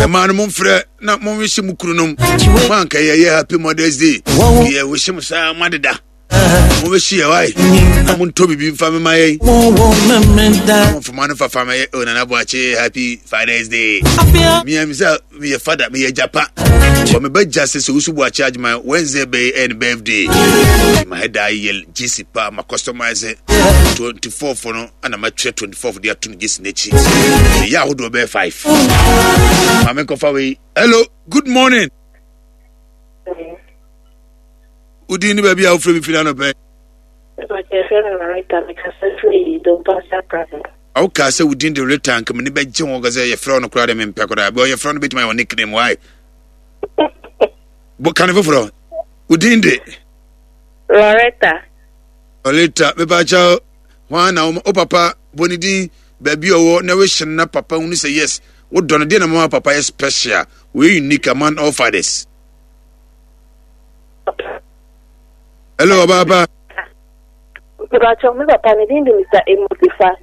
Ɛmaa no momfrɛ na monwehye mo kunu nom. Moanka yɛyɛ happy Mother's Day. Yɛwehye mo saa moadeda. Mobɛhye yɛ wae. Na montɔ biribi mfa mema yɛn. Momfoma no fafa mɛyɛ oh, Nana Boakye happy Father's Day. Mea me sɛ meyɛ father, meyɛ gyapa. Wɔ me ba gya sɛ sɛ wosu Boakye adwuma Wednesday bɛyɛ ɛyɛ ne birthday. Mahɛda yɛ gyesi pa ma customize 24 no ana matwerɛ 24 de ato no gyesi n'akyi. Meyɛ ahodoɔ bɛyɛ 5. Maame nkɔfa wei. Hello, good morning. Wodin ne baabi a wofrɛ me firi anɔpɛ. Wokaa sɛ wodin de Rita nka mene bɛgye ho sɛ yɛfrɛ wo no koraa de mempɛ koraa bɛ yɛfrɛ no bɛtumi ayɛ wo nickname why bɔ kane foforɔ wodin de Loretta. Loretta mepakyɛ hwan na wo papa bɔ ne din baabi ɔwɔ na wehyɛ no na papa hunu sɛ yes wodɔ no deɛ na mama papa yɛ special wɔyɛ unique among all fathers. Hello, ɔbaapa. Mepakyɛ me papa ne din de Mr. Amos Ifa.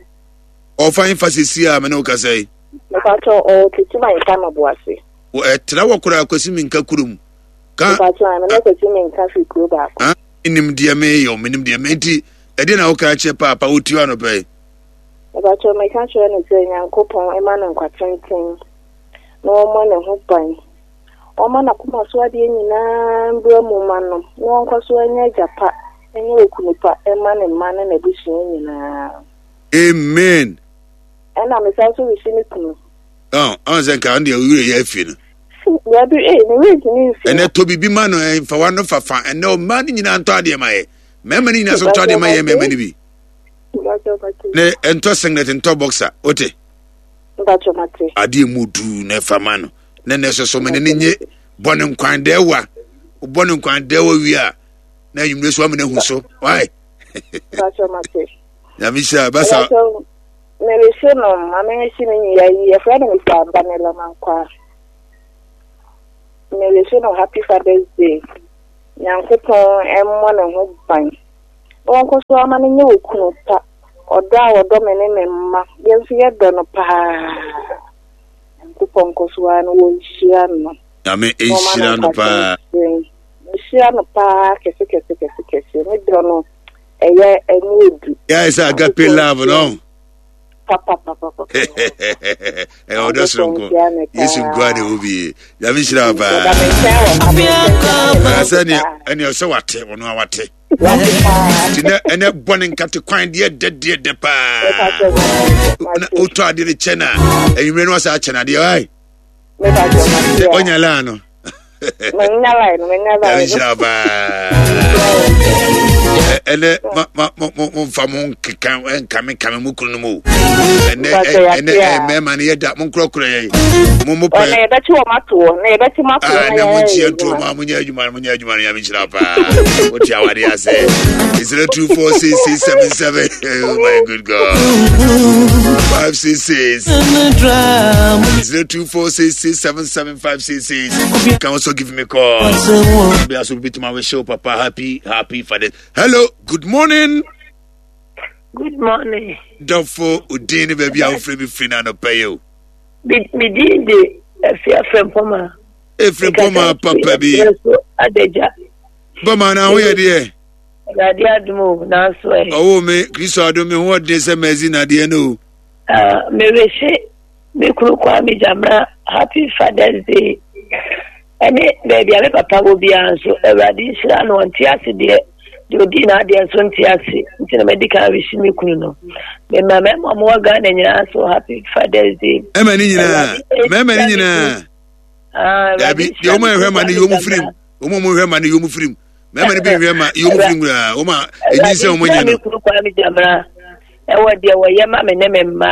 Ɔfa nfa sisi a me ne wo kasa yi. Mepakyɛ ɔwɔ Techiman nka no boase. Ɛtra wɔ koraa Kwasi Minka kurom. Ka. Mepakyɛ me ne Kwasi Minka firi kuro baako. Menim deɛ meyɛ, menim deɛ me nti ɛdeɛ na woka kyerɛ paapa wotie anɔpɛ yi. Mepakyɛ meka kyerɛ no sɛ Nyankopɔn ɛma no nkwa tenten na ɔmmɔ ne ho ban. Ɔmma n'akoma so adeɛ nyinaa mbra mu mma no, na ɔnkɔ so nyɛ agya pa nyɛ okunu pa mma ne mma ne n'abusua nyinaa. Amen. Ɛna mesan nso resi me kunu. Ɔn ɔn sɛ nka ɔno deɛ owurɛ yɛ afi no. Dabi ee ne werɛ ntumi nfi. Ɛnɛ tɔ biribi ma no ɛnfa wa no fafa ɛnɛ ɔmaa no nyinaa ntɔ adeɛ ma yɛ mɛɛma no nyinaa so ntɔ adeɛ ma yɛ mɛɛma no bi. Ne ntɔ singlet ntɔ boxer wote. Adeɛ mu duu na ɛfa ma no. Na na ɛsɛ so mene ne nye bɔ ne nkwan dɛwa wobɔ ne nkwan dɛwa wie a na anwummerɛ so amena hu so why nyame hyira basa merehye no ma merehye me nua yi yɛfrɛ no Mr. Abanela Mankwa merehye no happy father's day nyankopɔn mmɔ ne ho ban na wɔnkɔ so ama no nyɛ okunu pa ɔdɔ a ɔdɔ me ne me mma yɛn nso yɛdɔ no paa Nyankopɔn nkɔ so ara na wɔnhyira no. Nyame nhyira no paa. Nhyira no paa kɛse kɛse kɛse kɛse. Ne dɔ no ɛyɛ ɛmu odu. Yɛ sɛ agape love no. Papa papa papa. Ɛyɛ ɔdɔ soronko. Yesu nkoa na ɛwɔ bi. Nyame nhyira paa. Sɛ ɛne ɔsɛ wate ɔno a wate. Nti nɛ ɛnɛ bɔ ne nkate kwan deɛ dɛ deɛ dɛ paa na wotɔ adeɛ no kyɛ no a anwummerɛ no wasa akyɛ no adeɛ ai ɔnya laa no nhyira paa ɛnɛ momfa mo nkeka nkame mo kunu no mu ɛnɛ ɛnɛ mmarima no yɛda monkorɔkorɔ yɛn mo mo pɛ yɛbɛkye wɔn ato hɔ na yɛbɛkye mo ato hɔ na mo nkyia ntuo mu a monyɛ adwuma no monyɛ adwuma no nyame nhyira paa wote awade ase 024667 oh my good god 566 0246677566 you can also give me a call be also be to my show papa happy happy father hello good morning. Good morning. Dɔfo odin ne baabi a wofrɛ mi firi no anɔpɛ yi o. Me din de Afia Frempɔma. Efrempɔma papa bi. Adagya. Bɔma na ho yɛ deɛ. Awurade adom o nanso ɛ. Ɔwɔ me Kristo adom me ho ɔden sɛ mɛzi nadeɛ no o. Ah, mewese me kunu Kwame Gyamena happy Father's Day. Ɛne baabi a me papa wɔ biara nso Awurade nhyira no ɔnte ase deɛ deɛ ɔdii n'adeɛ nso nte ase nti na madi kan resi me kunu no mema mmarima a wɔwɔ Ghana nyinaa so happy Father's Day. Mmarima ne nyinaa mmarima ne nyinaa ah, dabi deɛ wɔn a ɛhwɛ ma no yɛ wɔn firim wɔn a wɔhwɛ ma no yɛ wɔn firim mmarima no bi nhwɛ ma yɛ wɔn firim koraa wɔn a enyi sɛ wɔn nyɛ no. Awurade nhyira me kunu Kwame Gyamena ɛwɔ deɛ wɔyɛ ma me ne me mma.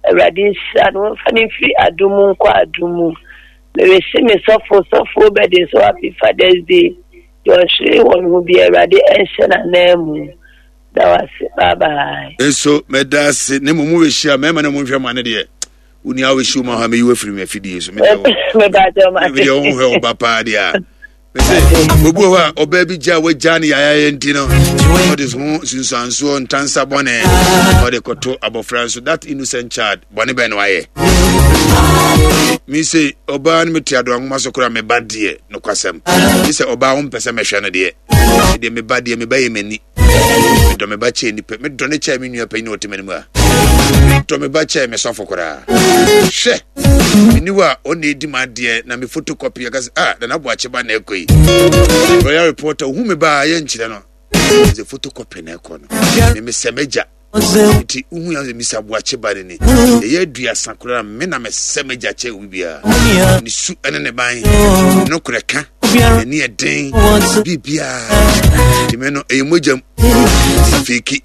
Awurade nhyira no wɔmfa no mfiri adom mu nkɔ adom mu. Merese me sɔfo sɔfo Obed nso happy Father's Day. Deɛ ɔhwere wɔn ho bi Awurade ɛnhyɛ n'anan mu. Da wase bye bye. Nso mɛda ase ne mmom wobɛhyia mmarima no monhwɛ ma no deɛ wo nua wobɛhyia wo ma hɔ a mɛyi wafiri me afidie so medeɛ wohwɛ wo ba paa deɛ a mese obi wɔ hɔ a ɔbaa bi gya a wagya no yayayɛ nti no ɔde ho nsunsuansoɔ ntansa bɔne ɔde kɔto abɔfra nso that innocent child bɔne bɛn na wayɛ. Me se ɔbaa no mete adoa nwoma so koraa meba deɛ nokwasɛm. Me sɛ ɔbaa wo mpɛ sɛ mɛhwɛ no deɛ. Deɛ meba deɛ meba yɛ m'ani. Medɔ me ba kyɛɛ nipa. Medɔ ne kyɛɛ me nua panyin a ɔte m'anim a. Medɔ me ba kyɛɛ me sɔfo koraa. Hwɛ! Meni hɔ a ɔna edi m'adeɛ na me photocopy ɛka sɛ ah Nana Boakye ba na ɛkɔ yi. Royal reporter ohu me ba a yɛnkyerɛ no. Sɛ photocopy na ɛkɔ no. Me mesɛ m'agya. Nti wohu yɛn sɛ Mr. Boakye ba no ni. Yɛyɛ aduasa koraa me na mesɛ m'agya kyɛ obi biara. Ne su ne ne ban, ne nokorɛ ka, n'ani ɛden, biribiara. Nti me no ɛyɛ mogyam feki.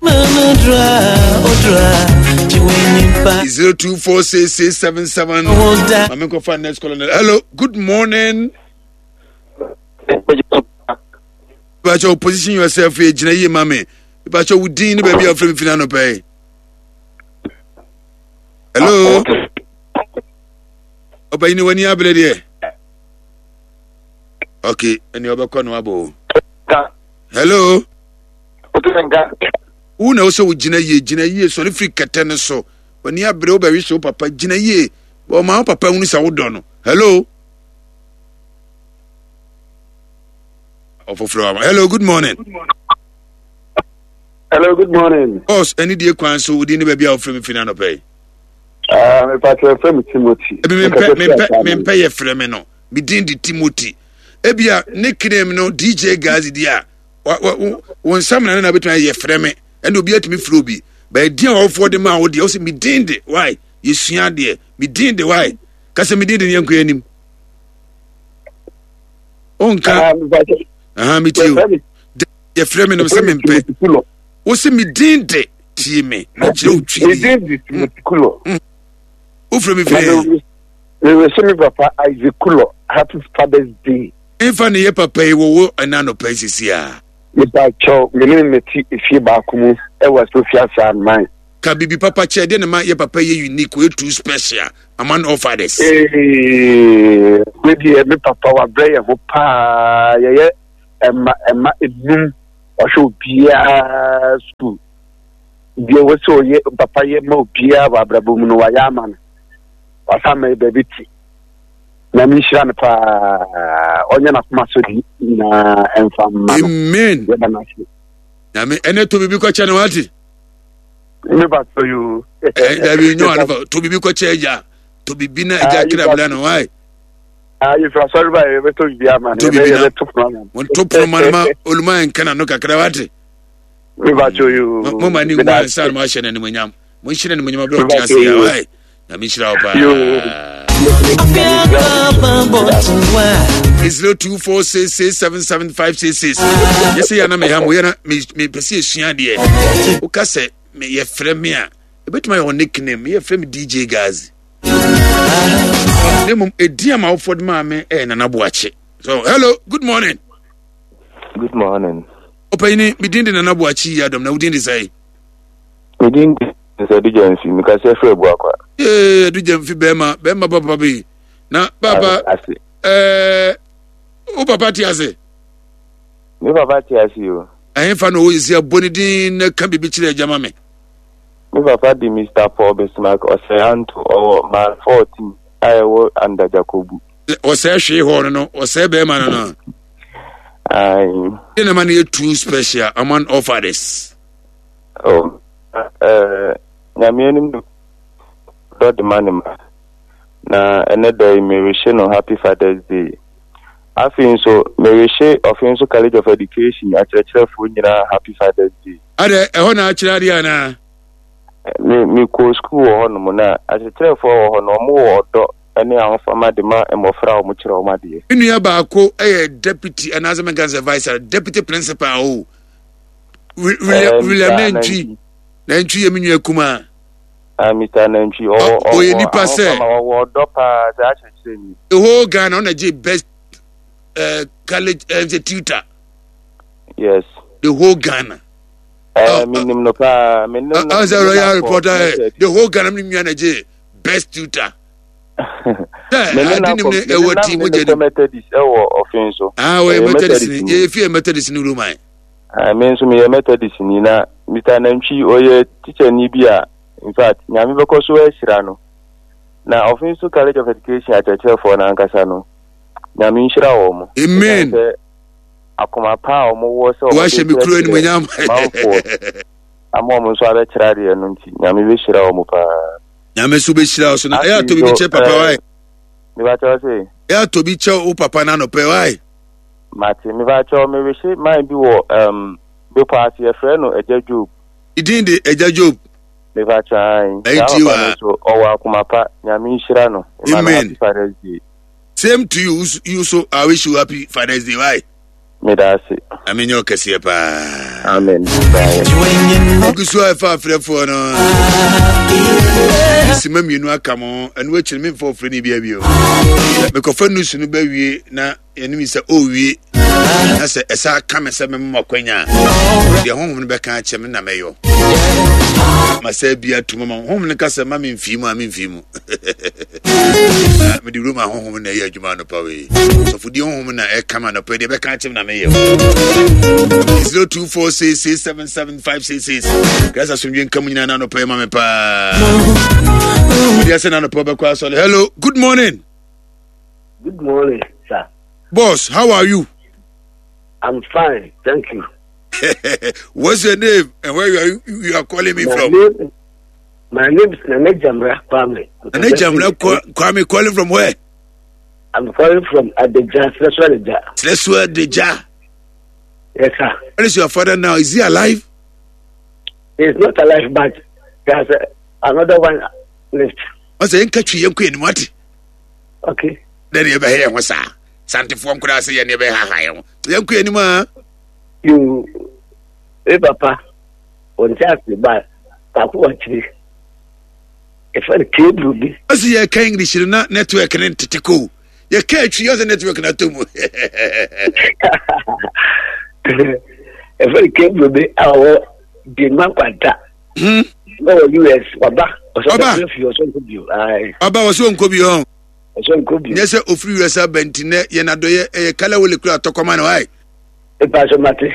0246677 Mame nkɔfa next caller. Hello, good morning. Bakyɛ position yourself yɛ gyina yie ma me. Bakyɛ wo din ne baabi a wofrɛ me firi anɔpa yi. Hello. Ɔbɛyi ne w'ani abere deɛ. Okay, ɛne ɔbɛkɔ no abɔ o. Hello. Wo na wosɛ wo gyina yie gyina yie sɔre firi kɛtɛ no so. W'ani abere wobɛwe sɛ wo papa gyina yie. Ɔma wo papa hunu sɛ wodɔ no. Hello. ɔfoforɔ ama hello good morning hello good morning boss ɛne die kwan so wodi ne baabi a wofrɛ me fi no anɔpɛ yi ah, mepatɛ frɛ me timothy ebi mempɛ mempɛ mempɛ yɛ frɛ me no me din de timothy ebia ne kinem no dj gazi di a wo nsa mena no na bɛtumi ayɛ frɛ me ɛne obi atumi frɛ obi bɛyɛ din a wɔfoɔ de maa wo deɛ wo sɛ me din de why yɛsua adeɛ me din de why kasɛ me din de ne yɛnkɔ anim ɔnka aha me tie o yɛfrɛ me no sɛ mempɛ wo sɛ me din de tie me na kyerɛ wo twi me din de Timothy Kulo mm. wofrɛ me firi mewɛhyɛ me papa Isaac Kulo happy father's day mfa ne yɛ papa yi wɔwɔ ɛna anɔpa yi sisi a mepa kyɛw me ne mete efie baako mu ɛwɔ Sofia saa man Ka biribi papa kyerɛ deɛ na ma yɛ papa yɛ unique ɔyɛ too special among all fathers. Ee, we deɛ me papa wabrɛ yɛn ho paa yɛyɛ ɛma ɛma enum ɔhwɛ obiara sukuu deɛ wɔ sɛ ɔyɛ papa yɛ ma obiara wɔ abrabɔ mu no wayɛ ama no wasan ma yɛ baabi te na menhyira no paa ɔnyɛ n'akoma so de nyinaa ɛmfa mma no amen yɛda no ase nyame ɛnɛ to biribi kɔkyɛ no wate ne ba tɔ yoo. ɛ dabi nyɔ ano fa to bibi kɔkyɛ agya to bibi na agya ah, kira bila no wae. Ah, yɛ fira sɔrɔ ba yɛ bɛ to bibi ama no yɛ bɛ to pono ama no. Mo to pono ma no ma oluma yɛ nkana no kakra wate. Ne ba tɔ yoo. Mo ma ni ngu ansa na mo ahyɛ n'animonyam mo nhyɛ n'animonyam abirɛ ɔte ase ya wae na mi nhyira wo paa. 0246677566 yɛsɛ yɛ na meha mo yɛ na mepɛ sɛ yɛsua adeɛ woka sɛ yɛfrɛ me a ɛbɛtumi ayɛ wɔ nickname yɛfrɛ me dj gazi na mmom ɛdin a mawofoɔ de maa me ɛyɛ nana boakye so hello good morning good morning ɔpanyini medin de nana boakye yi adɔm na wodin de sɛe medin de Sɛ Adu Gyamfi, mekasa firi Abuakwa. Ee, Adu Gyamfi bɛrima, bɛrima papa bi. Na papa, ɛɛ, wo papa te ase? Me papa te ase o. Ɛhefa na ɔwɔ sisi abɔ ne din na ka biribi kyerɛ agya ma me. Me papa de Mr. Paul Bismarck Ɔsɛe Anto, ɔwɔ mile 14 a ɛwɔ Andagyakobu. Ɔsɛe hwee hɔ no no, ɔsɛe bɛrima no no. Ayi. Ɛna ma no yɛ too special among all fathers. Oh. Eh, Nyame anim no dɔ de ma ne mma. Na ɛnɛ da yi merehye no Happy Father's Day. Afei nso merehye Ɔfenso College of Education akyerɛkyerɛfoɔ nyinaa Happy Father's Day. Adɛ, ɛhɔ na akyerɛ adeɛ anaa? Me mekɔɔ sukuu wɔ hɔnom na akyerɛkyerɛfoɔ wɔ hɔ no wɔn wɔ ɔdɔ ne ahofama de ma mmɔfra a wɔkyerɛ wɔn adeɛ. Me nua baako yɛ deputy anaasɛ menka sɛ vice deputy principal o. William William Nantwi Nantwi yɛ me nua kumaa. Ah, Mr. Nantwi ɔwɔ ɔyɛ nipa sɛ ɔwɔ ɔdɔ paa sɛ akyerɛkyerɛ ni. The whole Ghana ɔna gye best college tutor. Yes. The whole Ghana. Menim no paa menim no. Ɔsɛ royal reporter the whole Ghana mi nua na gye best tutor. Sɛ adi nim ne ɛwɔ ti mo gye nim. Methodist ɛwɔ ɔfin so. Ah, wɔyɛ Methodist ni yɛ fi yɛ Methodist ni Roman. Ah, me nso meyɛ Methodistni na Mister Nantwi ɔyɛ tikyani bi a in fact Nyame bɛkɔ so ahyira no. Na Offinso College of Education akyerɛkyerɛfoɔ no ankasa no, Nyame nhyira wɔn. Amen. Ɛsiane sɛ akoma pa a wɔwɔ sɛ wɔde Wahyɛ me kuro kyerɛkyerɛ animuonyam. manfoɔ ama wɔn nso abɛkyerɛ adeɛ no nti, Nyame bɛhyira wɔn paa. Nyame nso bɛhyira wo so na ɛyɛ Afei atɔ biribi nso, kyɛ papa eh, wae. mebakyɛw se, Ɛyɛ atɔ bi kyɛ wo papa no anɔpɛ wae. mate, mebakyɛw mewehye man bi wɔ um, bepɔ ase, yɛfrɛ no Agya Job. Ne din de Agya Job. Mepakyɛ ae. Ɛyɛ Saa tie papa no wa. nso ɔwɔ akoma pa. Nyame nhyira no. Mema no Amen. happy Father's Day. Same to you. You so I wish you happy Father's Day. Why? Meda ase. Nyame nyɛ ɔkɛseɛ paa. Amen. Bye. Ogu so a ɛfa afrɛfoɔ no. Sima mmienu aka mo. Ɛno akyiri memfa ɔfrɛ no bia bio. Mekɔfa nusu no bɛwie na yɛne mi sɛ ɔrewie na sɛ ɛsa ka me sɛ mema makwanya a deɛ honhom no bɛka akyɛ me na mɛyɔ ma sɛ bi atum ma honhom no ka sɛ ma memfii mu a memfii mu mede roma honhom na ɛyɛ adwuma anɔpa wei sɔfodie honhom na ɛka ma anɔpa deɛ bɛka akyɛ me na meyɛ 0246677566 krasa asomdwe nka mu nyinaa na anɔpa yi ma me paa mede asɛ na anɔpa wobɛkɔ asɔre. Hello, good morning. Good morning, sir. Boss, how are you? I'm fine, thank you. What's your name and where you are calling me My from? name is Nana Jamra Kwame. Nana Jamra Kwame calling from where? I'm calling from Adeja, Sresua Adeja. Sresua Adeja. Yes, sir. Where is your father now? Is he alive? He's not alive, but there's another one left. Ɔsɛ yɛnka twi yɛnkɔ yɛn anim ate. Okay. Dɛ ne yɛbɛhɛ yɛn ho saa. Santefoɔ nkoraa sɛ yɛn ne yɛbɛhaha yɛn ho. Yɛnkɔ yɛn anim a. You, eh, papa, wɔn ti ase ba baako wɔ akyire. Efa no keburu bi. Ɔsɛ yɛka English no na network ne ntete ko. Yɛka atwi ɔsɛ network no atɔ mu. Efa no keburu bi a ɔwɔ Denmark kwanta. Ɔwɔ US waba. Ɔba. Ɔba ɔsɛ ɔnkɔ bio. Ɔsɛ ɔnkɔ bio. Nyɛ sɛ ofiri US aba nti nɛ yɛn adɔyɛ ɛyɛ kala wole kura atɔkɔma no ayi. Epa so mate.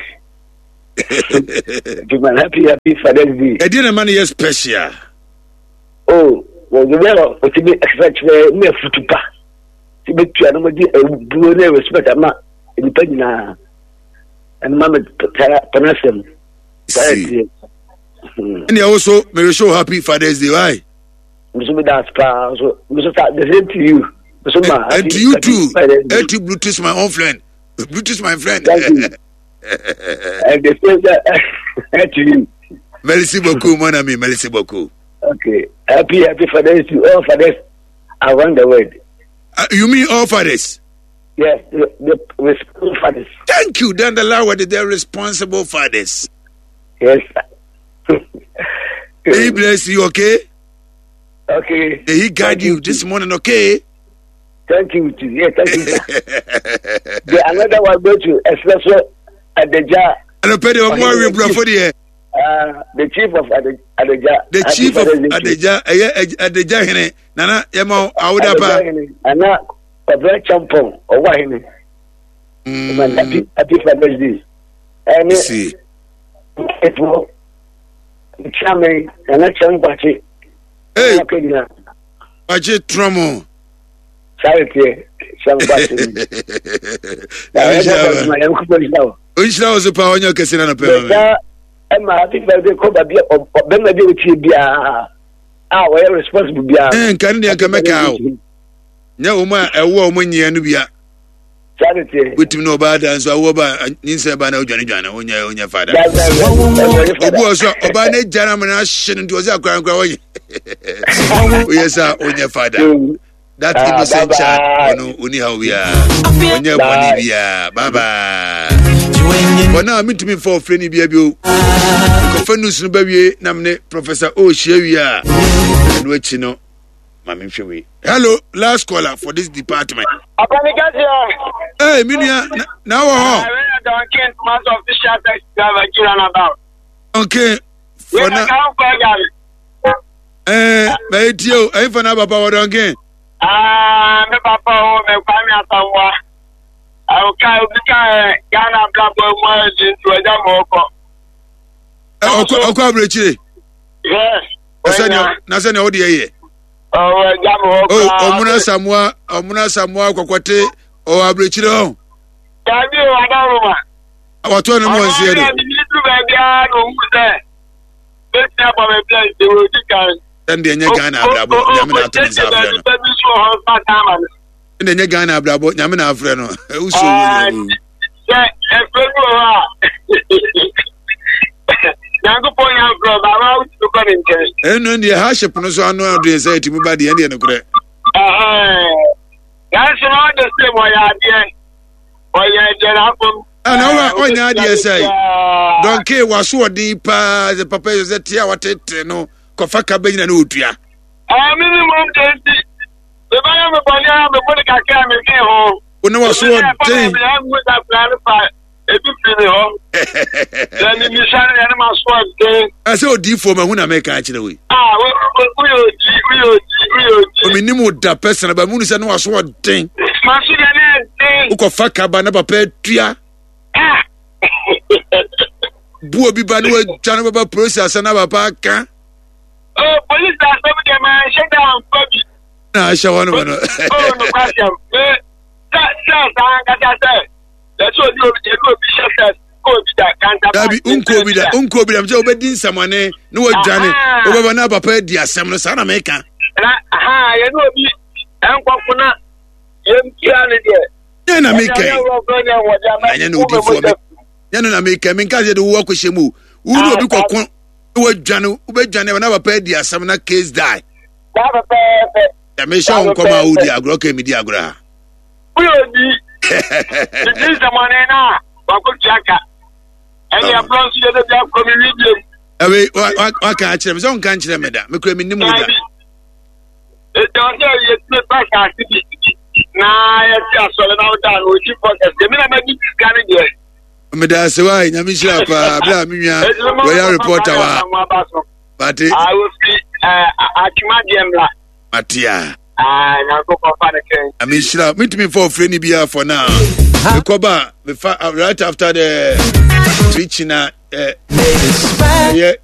Juma happy happy Father's Day. Ɛdeɛ na ma no yɛ special. Oh, wɔn bɛ ɔtumi ɛkasa kyerɛ ne afutu pa. Ti bɛ tua no mo di ebuo ne respect ama nipa nyinaa. Ɛno ma me tara tana sɛm. See. Ɛnna ɛwɔ so mɛ wish you happy Father's Day why. Nso mi da paa so nso sa the same to you. Nso ma and to you too. And to Bluetooth my own friend. Bluetooth my friend. Thank you. And the same to you. Merci beaucoup mon ami. Merci beaucoup. Okay. Happy happy Father's to all fathers around the world. You mean all fathers? Yes, the responsible fathers. Thank you. Then the Lord, the responsible fathers. Yes. May he bless you, okay? Okay. May he guide you this morning, okay? Thank you, too. Yeah, thank you. The another one go to Espresso Adeja. The chief of Adeja. The chief of Adeja. Adeja hene. Nana, yema awuda pa. Ana Kwabena Champon, ɔwɔ ahene. Happy happy Father's Day. Ɛne See. ɛtoɔ nkyame nana kyɛm kwakye. Hey. Kwakye trɔmɔ. Sáré tiɛ kyɛm kwakye. Nhyira wo so paa ɔnyɛ ɔkɛse na nɔpɛ ma me. Ɛma happy Father's Day kɔ baabi ɔbɛma bi a ɔtie biara a ɔyɛ responsible biara. Nka ne deɛ nka mɛka o. Nyɛ wɔn a ɛwo a wɔn nyɛ no bia. Wotumi ne ɔbaa da nso awoɔ ba nyinsɛn ba na odwane dwane wonyɛ wonyɛ fada. Obi wɔ so a ɔbaa ne gya na amena ahye no nti ɔsɛ akora nkora wɔnyɛ. Woyɛ sɛ wonyɛ fada. That innocent child ɔno ɔni haw biara ɔnyɛ bɔne biara bye bye. For now mentumi mfa ɔfrɛ ne bia bio. Nkɔfa news no bɛwie na mene Professor O hyia wie a ɛno akyi no ma menhwɛ wei. Hello, last caller for this department. Akwani Kasia. Hey, me nua, na wɔ hɔ. Duncan, master official taxi driver, Jiran about. Duncan, for na. Eh, mɛ etie o, ɛyin fana papa wɔ Duncan. Ah, me papa o, me Kwame Asamoah. Ɔka obi ka ɛ Ghana abrabɔ mu ayɛ di nti ɔgya ma ɔkɔ. Ɔkɔ ɔkɔ aburokyire. Yes. Na sɛ nea ɔde yɛ yɛ. Ɔwɔ agya me hɔ koraa. Ɔmono Asamoah, ɔmono Asamoah kɔkɔte ɔwɔ aburokyire hɔ. Dabi o, Adaworoma. Wɔtoa no mu wɔn nseɛ de. Ɔno ne duru baabi ara na ohun sɛ bɛsi abɔ baabi a nti wɔ di kan. Ɛn deɛ nyɛ Ghana abrabɔ nyame na ato ne nsa afrɛ no. Ɛn deɛ nyɛ Ghana abrabɔ nyame na afrɛ no. Wusu wo nyɛ wo. Sɛ ɛfrɛ bi wɔ hɔ a Nyankopɔn yɛ afrɛ ba wa wotumi kɔ ne nkyɛn. Ɛno deɛ hardship no so ano adeɛ sɛ ɛtumi ba deɛ ɛdeɛ nokorɛ. Nanso na ɔde sɛ ɔyɛ adeɛ ɔyɛ deɛ n'afam. Ɛna ɔwɔ ɔnyɛ adeɛ sɛ dɔnke waso ɔden paa sɛ papa yɛ sɛ tea watete no kɔfa ka bɛnyina ne ɔtua. Ɛɛ mi ni mo nkyɛn nti mebɛyɛ me bɔne a mebɔ ne kakra a mede ho. Wo ne waso ɔden. Ebi firi mi hɔ. Sɛ mimisa no yɛne ma so ɔden. Ɛsɛ odiifoɔ ma hu na meka akyerɛ wei. Ah, woyɛ odi, woyɛ odi, woyɛ odi. Omenim wo da pɛsɛn ba mu sɛ ne waso ɔden. Maso deɛ ne ɛden. Wokɔfa kaba na papa atua. Ah. Bu obi ba ne wadwa no bɛba polisi asɛm na papa aka. Oh, polisi asɛm deɛ ma nhyɛ da amfa bi. Na ahyɛ hɔ no ma no. Oh, nokwasɛm. Me, sɛ sɛ saa ankasa sɛ. Yɛsɛ obi obi yɛde obi hyɛ sɛ nkɔ obi da kanta. Dabi nkɔ obi da nkɔ obi da sɛ wobɛdi nsɛmɔne ne wadwane wobɛba na papa adi asɛm no saa na meka. Na aha yɛne obi nkɔko na yɛmpia no deɛ. Nyɛ na meka yi na nyɛ na odifoɔ me nyɛ no na meka menka sɛ de wo akɔhyɛ mu o wo ne obi kɔko ne wadwane wobɛdwane na papa adi asɛm na case die. Saa pɛpɛɛpɛ. Mehyɛ wo nkɔm a wodi agorɔ ka medi agorɔ a. Woyɛ obi didi nsɛmɔne no a wakɔtua ka ɛne ɛborɔ nso yɛdɛ bi akɔ me wi biam. Ɛwei waka akyerɛ me sɛ wonka nkyerɛ me da mekura mennim wo da. Ɛti ɔsɛ yɛtumi ba saase bi na yɛte asɔre na woda no ɔdi fɔ kɛseɛ me na madi sika no deɛ. Meda ase wa nyame nhyira paa berɛ a me nua royal reporter wa mate. Wofi atwuma deɛ mmra. Mate a. Ah, Nyankopɔn fa ne kɛn. Nyame nhyira. Mentumi mfa ɔfrɛ ni biara for now. Mekɔba mefa right after the preaching na ɛyɛ.